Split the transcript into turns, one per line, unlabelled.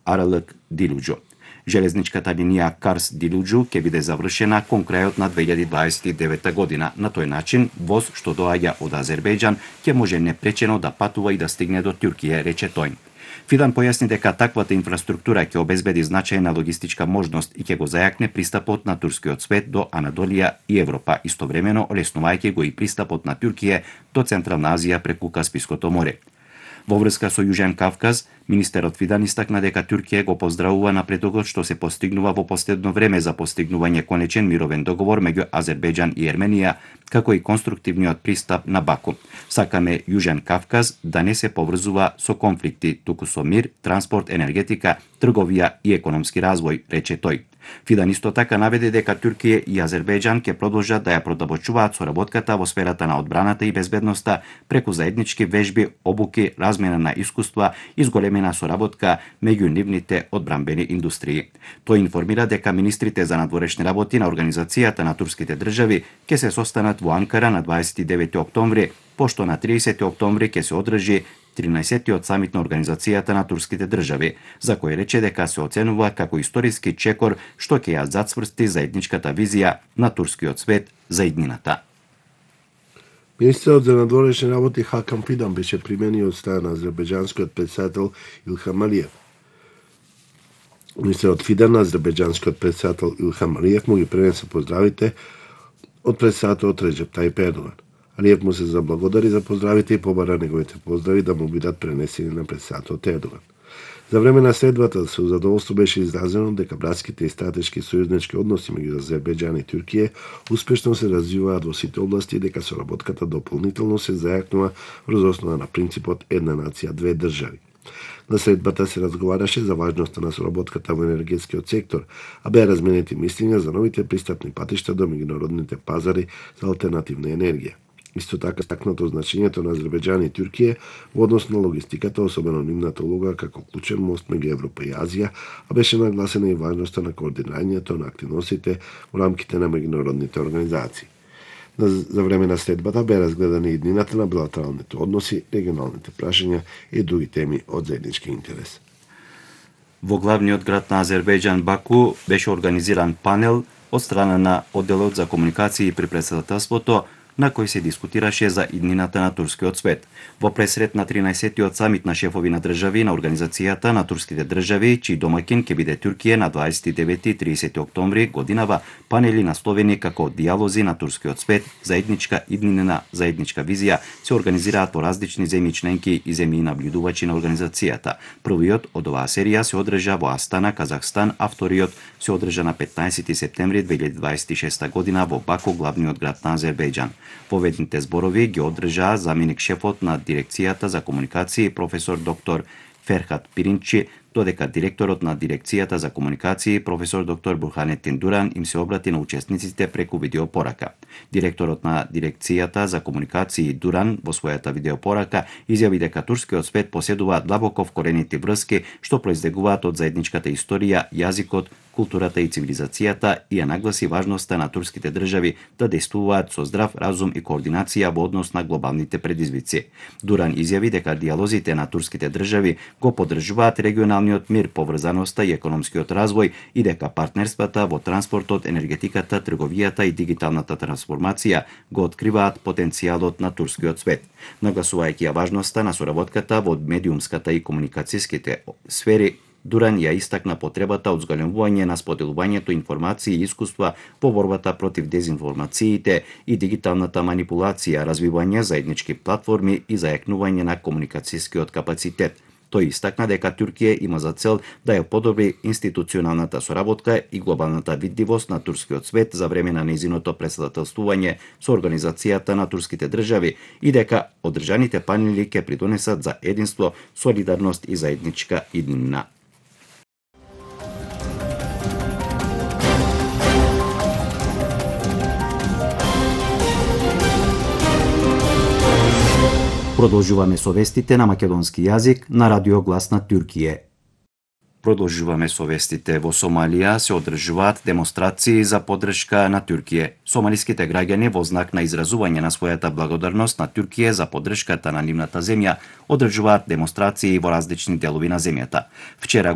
Аралык Дилуџу. Железничката линија Карс Дилуџу ќе биде завршена кон крајот на 2029 година. На тој начин, воз што доаѓа од Азербејџан ќе може непречено да патува и да стигне до Туркија, рече тој. Фидан појасни дека таквата инфраструктура ќе обезбеди значајна логистичка можност и ќе го зајакне пристапот на турскиот свет до Анадолија и Европа, истовремено олеснувајќи го и пристапот на Туркија до Централна Азија преку Каспиското море. Во врска со Јужен Кавказ, министерот Фидан истакна дека Туркија го поздравува напредокот што се постигнува во последно време за постигнување конечен мировен договор меѓу Азербејџан и Ерменија, како и конструктивниот пристап на Баку. Сакаме Јужен Кавказ да не се поврзува со конфликти, туку со мир, транспорт, енергетика, трговија и економски развој, рече тој. Фидан исто така наведе дека Туркија и Азербејџан ќе продолжат да ја продолжуваат соработката во сферата на одбраната и безбедноста преку заеднички вежби, обуки, размена на искуства и зголемена соработка меѓу нивните одбранбени индустрии. Тој информира дека министрите за надворешни работи на Организацијата на турските држави ќе се состанат во Анкара на 29 октомври, пошто на 30 октомври ќе се одржи 13-тиот самит на Организацијата на турските држави, за кој рече дека се оценува како историски чекор што ќе ја зацврсти заедничката визија на турскиот свет за иднината.
Министерот за надворешни работи Хакам Фидан беше примени од страна на азербејџанскиот претседател Илхам Алиев. Министерот Фидан на азербејџанскиот претседател Илхам Алиев му ги пренесе поздравите од претседателот Реджеп Тајип Ердоган. Алиев му се заблагодари за поздравите и побара неговите поздрави да му бидат пренесени на претседателот Ердоган. За време на следвата со задоволство беше изразено дека братските и стратешки сојузнички односи меѓу Азербејџан и Туркија успешно се развиваат во сите области и дека соработката дополнително се зајакнува врз основа на принципот една нација, две држави. На средбата се разговараше за важноста на соработката во енергетскиот сектор, а беа разменети мислења за новите пристапни патишта до меѓународните пазари за алтернативна енергија. Исто така стакнато значењето на Азербејџан и Туркија во однос на логистиката, особено нивната улога како клучен мост меѓу Европа и Азија, а беше нагласена и важноста на координирањето на активностите во рамките на меѓународните организации. За време на следбата беа разгледани иднината на билатералните односи, регионалните прашања и други теми од заеднички интерес.
Во главниот град на Азербејџан Баку беше организиран панел од страна на одделот за комуникации при претседателството на кој се дискутираше за иднината на турскиот свет. Во пресрет на 13-тиот самит на шефови на држави на Организацијата на турските држави, чиј домаќин ќе биде Туркија на 29 и 30 октомври годинава, панели насловени како дијалози на турскиот свет, заедничка иднина, заедничка визија, се организираат во различни земји членки и земји наблюдувачи на организацијата. Првиот од оваа серија се одржа во Астана, Казахстан, а вториот се одржа на 15 септември 2026 година во Баку, главниот град на Азербејџан. Поведните зборови ги одржаа заменик шефот на дирекцијата за комуникации професор доктор Ферхат Пиринчи, додека директорот на дирекцијата за комуникации професор доктор Бурханетин Дуран им се обрати на учесниците преку видеопорака. Директорот на дирекцијата за комуникации Дуран во својата видеопорака изјави дека турскиот свет поседува длабоко вкоренити врски што произлегуваат од заедничката историја, јазикот, културата и цивилизацијата и ја нагласи важноста на турските држави да действуваат со здрав разум и координација во однос на глобалните предизвици. Дуран изјави дека дијалозите на турските држави го поддржуваат регионалниот мир, поврзаноста и економскиот развој и дека партнерствата во транспортот, енергетиката, трговијата и дигиталната трансформација го откриваат потенцијалот на турскиот свет. Нагласувајќи ја важноста на соработката во медиумската и комуникацијските сфери, Дуран ја истакна потребата од зголемување на споделувањето информации и искуства во борбата против дезинформациите и дигиталната манипулација, развивање заеднички платформи и зајакнување на комуникацијскиот капацитет. Тој истакна дека Туркија има за цел да ја подобри институционалната соработка и глобалната видливост на турскиот свет за време на нејзиното претседателствување со Организацијата на турските држави и дека одржаните панели ќе придонесат за единство, солидарност и заедничка иднина. Продолжуваме со вестите на македонски јазик на Радио Глас на Туркија. Продолжуваме со вестите. Во Сомалија се одржуваат демонстрации за поддршка на Туркија. Сомалиските граѓани во знак на изразување на својата благодарност на Туркија за поддршката на нивната земја одржуваат демонстрации во различни делови на земјата. Вчера